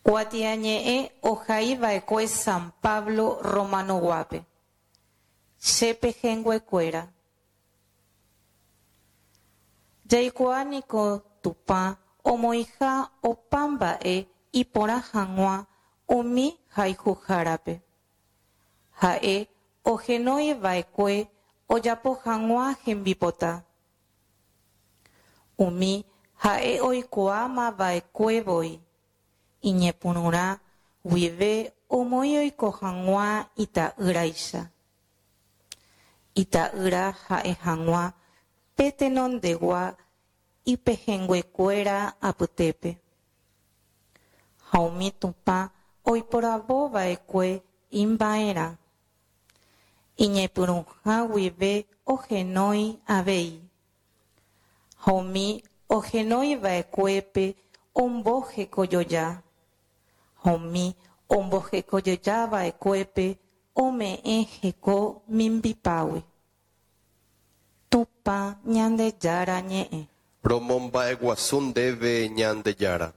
Kuatiañe'ẽ ohaiva'ekue San Pablo Romanoguápe. Che pehẽnguekuéra. Jaikuaa niko Tupã omoĩha opa mba'e iporã hag̃ua umi hayhuhárape. Ha'e ohenói va'ekue ojapo hag̃ua hembipota. Umi ha'e oikuaáma va'ekue voi, iñepyrũrã guive omoĩ oiko hag̃ua ita'ýraicha. Ita'ýra ha'e hag̃ua pe tenondegua ipehẽnguekuéra apytépe. Ha umi Tupã oiporavo va'ekue imba'erã, iñepyrũha guive ohenói avei. Ha umi ohenói va'ekuépe ombohekojoja, ha umi ombohekojoja va'ekuépe ome'ẽ heko mimbipágui. Tupã Ñandejára ñe'ẽ. Romomba'eguasu ndéve Ñandejára.